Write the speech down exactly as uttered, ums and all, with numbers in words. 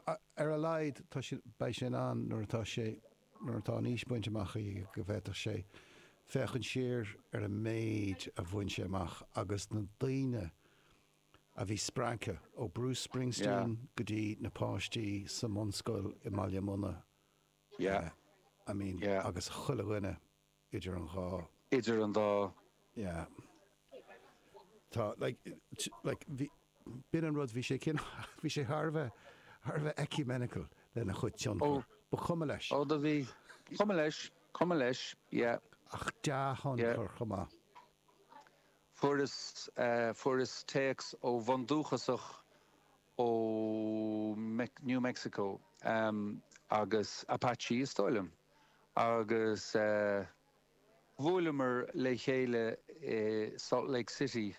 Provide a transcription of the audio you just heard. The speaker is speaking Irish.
Ar a laghad tá sé, beidh sé in ann nuair atá sé, nuair atá an aois bainte amach aige go bhféadfadh sé féachaint siar ar an méid a bhain sé amach agus na daoine a bhí spreagtha, ó Bruce Springsteen go dtí na páistí sa mbunscoil i mBaile Munna, Yeah. I mean, Yeah. agus chuile dhuine idir an dhá. Idir an dá. Yeah. Tá, like, like, bhí, b'in an rud, bhí sé cin, bhí sé thar a bheith, thar a bheith ecumenical lena chuid tionchar. Ó. Ba chuma leis. Ó, do bhí. Cuma leis, cuma leis, yeah. Ach dea-thionchar chomh maith. Fuaireas, fuaireas téacs ó bhundúchasach ó New Mexico agus Apache is dóigh liom agus bhuaileamar le chéile i Salt Lake City.